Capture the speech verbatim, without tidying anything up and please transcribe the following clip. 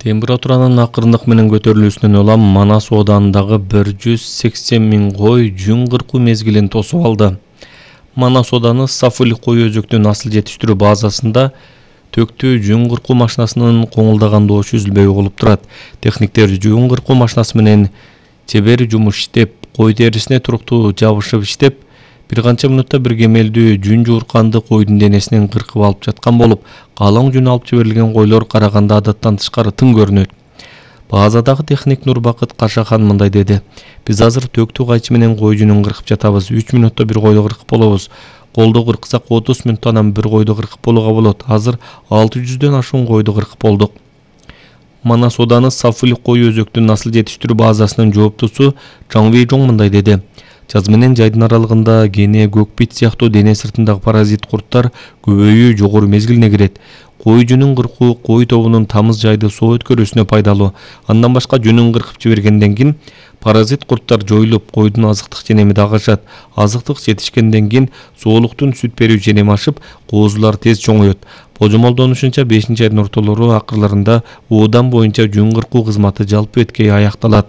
Температуранын акырындык менен көтөрүлүүсүнөн улам Манас ооданындагы бир жүз сексен миң кой жүн кыркуу мезгилин тосуп алды. Манас ооданы Сафули кой өзөктүү насыл жетиштирүү базасында төктүү жүн кыркуу машинасынын коңулдаган доочу үзүлбөй угулуп турат. Техниктер жүн кыркуу машинасы менен чебер жумуш иштеп, кой терисине туруктуу жабышып иштеп, бир канча мүнөттө бир кемелдүү жүн жуурканды койдун денесинен кыркып алып жаткан болуп, калың жүн алып жиберилген койлор караганда адаттан тышкары тың көрүнөт. Базадагы техник Нурбакыт Кашахан мындай деди: "Биз азыр төктүү кайчы менен кой жүнүн кыркып жатабыз. үч мүнөттө бир койду кыркып болобуз. Колдо кырксак отуз мүнөттө анан бир койду кыркып болууга болот. Азыр алты жүздөн ашуун койду кыркып болдук." Манас ооданы Сафули кой өзөктүү насыл жетиштирүү базасынын жооптусу Чаңвей Жоң мындай деди: "Жаз менен жайдын аралыгында кене, көкбит сыяктуу дене сыртындагы паразит курттар көбөйүү жогору мезгилине кирет. Кой жүнүн кыркуу кой тобунун тамыз жайды соо өткөрүүсүнө пайдалуу. Андан башка жүнүн кыркып жибергенден кийин паразит курттар жоюлуп, койдун азыктык женеми дагы ашат. Азыктык жетишкенден кийин соолуктун сүт берүү женеми ашып, коозулар тез чоңоет. Божомолдонушунча бешинчи айдын ортолору акырларында оодан боюнча жүн кыркуу кызматы жалпы эткей аякталат."